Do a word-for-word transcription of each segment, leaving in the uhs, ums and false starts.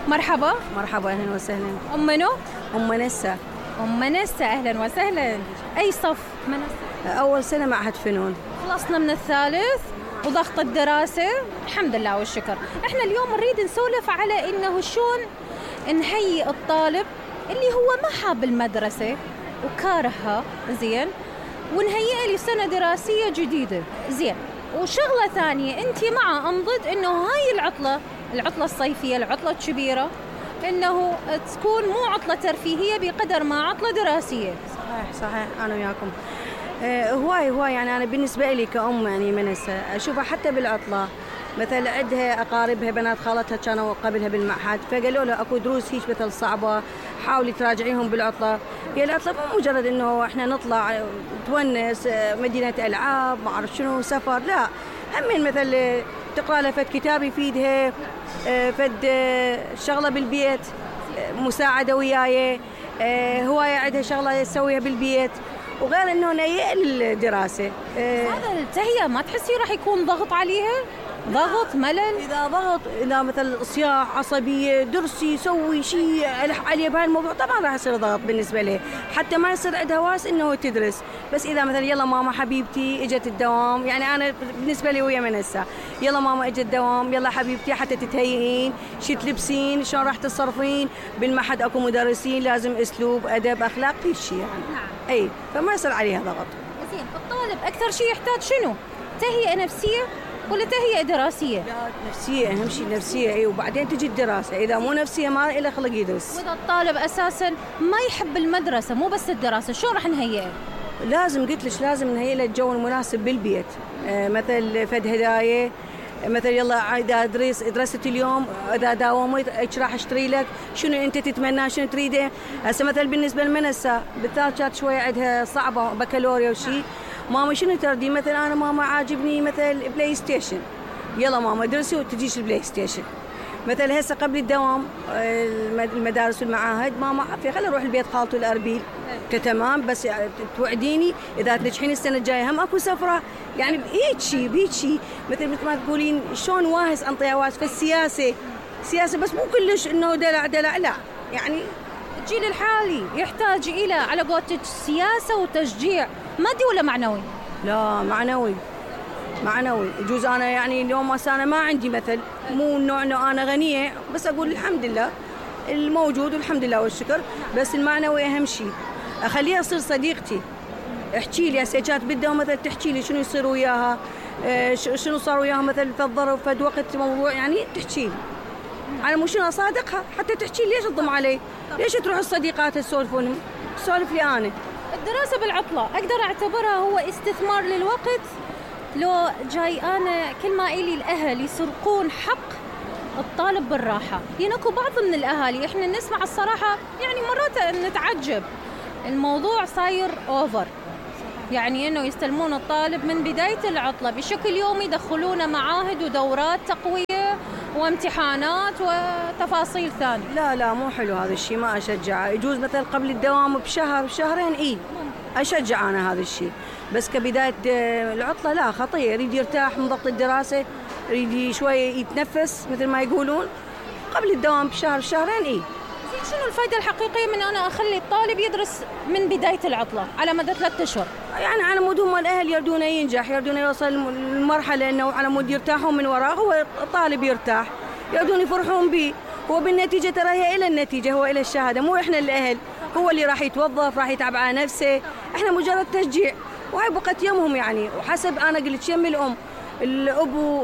مرحبا. مرحبا، أهلا وسهلا. أم منو؟ أم منسة. أم منسة، أهلا وسهلا. أي صف منسة؟ أول سنة معهد فنون. خلصنا من الثالث وضغط الدراسة الحمد لله والشكر. احنا اليوم نريد نسولف على انه شلون نهيئ الطالب اللي هو ما حاب المدرسة وكارهها زين، ونهيئه لسنة دراسية جديدة زين. وشغلة ثانية، انت مع ام ضد انه هاي العطلة العطلة الصيفية العطلة الكبيرة انه تكون مو عطلة ترفيهية بقدر ما عطلة دراسية؟ صحيح صحيح، انا وياكم. آه هواي هواي يعني انا بالنسبة لي كأم يعني منسة اشوفها حتى بالعطلة، مثلا عندها اقاربها بنات خالتها كانوا قبلها بالمعهد فقالوا له اكو دروس هيك مثل صعبة حاولي تراجعيهم بالعطلة. هي العطلة مو مجرد انه احنا نطلع تونس مدينة العاب ما اعرف شنو سفر، لا همين مثل تقرا لها فد كتاب يفيدها، فد شغلة بالبيت مساعدة وياي، هواية عندها شغلة تسويها بالبيت وغير انه نهيئ للدراسة. هذا التهيئة ما تحسي راح يكون ضغط عليها؟ ضغط ملل؟ إذا ضغط إذا مثل صياح عصبية درسي سوي شيء ألح عليه بهالموضوع طبعا راح يصير ضغط بالنسبة له، حتى ما يصير عندها واس إنه تدرس. بس إذا مثلا يلا ماما حبيبتي إجت الدوام، يعني أنا بالنسبة لي ويا منسة يلا ماما إجت الدوام يلا حبيبتي حتى تتهيئين شي تلبسين شلون راح تتصرفين بالمعهد أكو مدرسين لازم أسلوب أدب أخلاق كل شيء يعني. نعم. أي فما يصير عليها ضغط. زين، الطالب أكثر شيء يحتاج شنو؟ تهيئة نفسية ولا تهيئة دراسية؟ لا نفسية أهم شيء، نفسية أي وبعدين تجي الدراسة. إذا مو نفسية ما له خلق يدرس. وإذا الطالب أساساً ما يحب المدرسة مو بس الدراسة شو راح نهيئه؟ لازم قلت لك لازم نهيئ له الجو المناسب بالبيت، آه مثل فد هدايا مثل يلا إذا درس درست اليوم إذا داومت إيش راح أشتري لك شنو أنت تتمنى شنو تريده. هسه مثل بالنسبة للمنسة بالذات كانت شوية عندها صعبة بكالوريا وشي، ماما شنو تردي مثلا أنا ماما عاجبني مثل بلاي ستيشن، يلا ماما درسي وتجيش البلاي ستيشن. مثل هسه قبل الدوام المدارس والمعاهد ماما في خلي اروح البيت خالته الاربيل تمام بس توعديني اذا تنجحين السنه الجايه هم اكو سفره، يعني بهيك شيء بهيك شيء مثل مثل ما تقولين شلون واهس انطيها واهس في السياسه سياسه بس مو كلش انه دلع دلع لا، يعني الجيل الحالي يحتاج الى على قولتك سياسه وتشجيع مادي ولا معنوي؟ لا معنوي معنوي. يجوز أنا يعني اليوم أنا ما عندي مثل مو النوع إنه أنا غنية بس أقول الحمد لله الموجود والحمد لله والشكر، بس المعنوي أهم شيء. أخليها تصير صديقتي احكي لي هسه بدها مثل تحكي لي شنو يصير وياها شنو صار وياها مثل في الظرف في وقت موضوع يعني تحكي لي أنا مو شنو أصادقها حتى تحكي لي ليش تضم علي ليش تروح الصديقات تسولفون سولف لي أنا. الدراسة بالعطلة أقدر أعتبرها هو استثمار للوقت لو جاي أنا كل ما إلي الأهل يسرقون حق الطالب بالراحة؟ يعني أكو بعض من الأهالي إحنا نسمع الصراحة يعني مرات نتعجب الموضوع صاير أوفر، يعني إنه يستلمون الطالب من بداية العطلة بشكل يومي يدخلونه معاهد ودورات تقوية وامتحانات وتفاصيل ثانية. لا لا مو حلو هذا الشيء ما أشجعه. يجوز مثلا قبل الدوام بشهر بشهرين إيه أشجع أنا هذا الشيء، بس كبداية العطلة لا خطير. يريد يرتاح من ضغط الدراسة يريد شوية يتنفس مثل ما يقولون قبل الدوام بشهر شهرين إيه. شنو الفائدة الحقيقية من أنا أخلي الطالب يدرس من بداية العطلة على مدى ثلاثة أشهر؟ يعني على مود هم الأهل يردونه ينجح يردونه يوصل المرحلة إنه على مود يرتاحون من وراه هو الطالب يرتاح يردون يفرحون به، هو بالنتيجة ترى هي إلى النتيجة هو إلى الشهادة مو إحنا الأهل، هو اللي راح يتوظف راح يتعب على نفسه، إحنا مجرد تشجيع وهي بقت يمهم يعني. وحسب أنا قلت يم الأم الأبو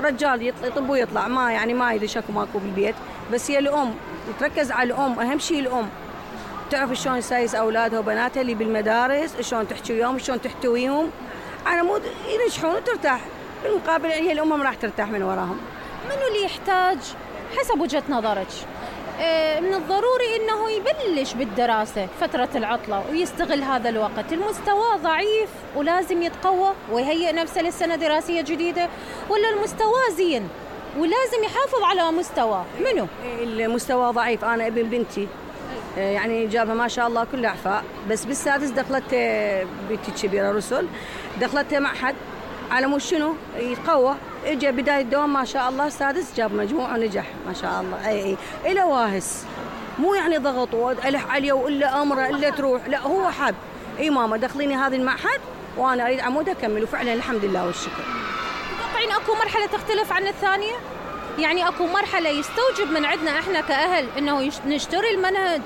رجال يطب ويطلع ما يعني ما يدري شكو ماكو بالبيت، بس هي الأم تركز على الأم أهم شيء الأم تعرف شلون تسايس أولادها وبناتها اللي بالمدارس شلون تحكي وياهم شلون تحتويهم على مود ينجحون وترتاح بالمقابل هي الأم راح ترتاح من وراهم. منو اللي يحتاج حسب وجهة نظرك من الضروري إنه يبلش بالدراسة فترة العطلة ويستغل هذا الوقت؟ المستوى ضعيف ولازم يتقوى ويهيئ نفسه للسنة دراسية جديدة، ولا المستوى زين ولازم يحافظ على مستوى؟ منو؟ المستوى ضعيف. أنا ابن بنتي يعني جابها ما شاء الله كل أعفاء بس بالسادس دخلت بنتي كبيرة رسل دخلت معهد على مو شنو يتقوى اجى بدايه الدوام ما شاء الله السادس جاب مجموع ونجح ما شاء الله. اي اي الى واهس، مو يعني ضغط والح عليه والا امره الا تروح، لا هو حب اي ماما دخليني هذا المعهد وانا اريد عمود اكمل، وفعلا الحمد لله والشكر. تتوقعين اكو مرحله تختلف عن الثانيه؟ يعني اكو مرحله يستوجب من عندنا احنا كاهل انه نشتري المنهج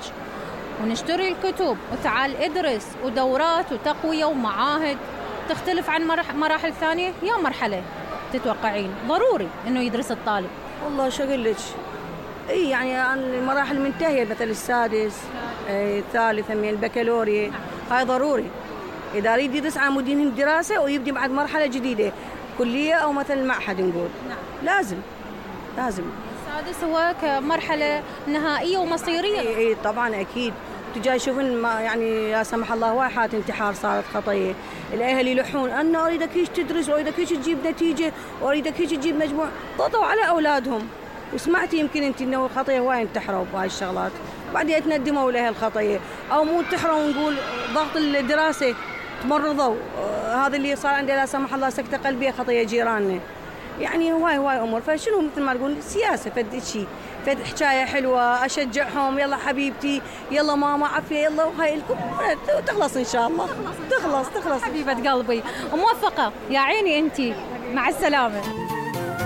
ونشتري الكتب وتعال ادرس ودورات وتقويه ومعاهد، تختلف عن مراحل ثانيه؟ يا مرحله تتوقعين ضروري انه يدرس الطالب؟ والله شو اقول لك، اي يعني المراحل منتهيه، مثل السادس اي الثالث من البكالوريا هاي ضروري اذا يريد يدرس عمودين الدراسه ويبدي بعد مرحله جديده كليه او مثل معهد نقول. نعم. لازم لازم السادس هو كمرحله نهائيه ومصيريه. اي اي طبعا اكيد. تجي يشوفون يعني لا سمح الله واحد حالات انتحار صارت خطيه، الاهل يلحون انا اريدك هيك تدرس واريدك هيك تجيب نتيجه واريدك هيك تجيب مجموع، ضغطوا على اولادهم. وسمعتي يمكن انت انه الخطيه هواي انتحروا بهاي الشغلات، بعدين يتندموا لاهل الخطيه، او مو انتحروا نقول ضغط الدراسه تمرضوا، هذا اللي صار عنده لا سمح الله سكته قلبيه خطيه جيراننا. يعني هواي هواي امور، فشنو مثل ما تقول سياسه فد شيء، فد حكايه حلوه اشجعهم يلا حبيبتي يلا ماما عافيه يلا وهاي الكل تخلص ان شاء الله. تخلص تخلص حبيبه قلبي وموفقه يا عيني انت، مع السلامه.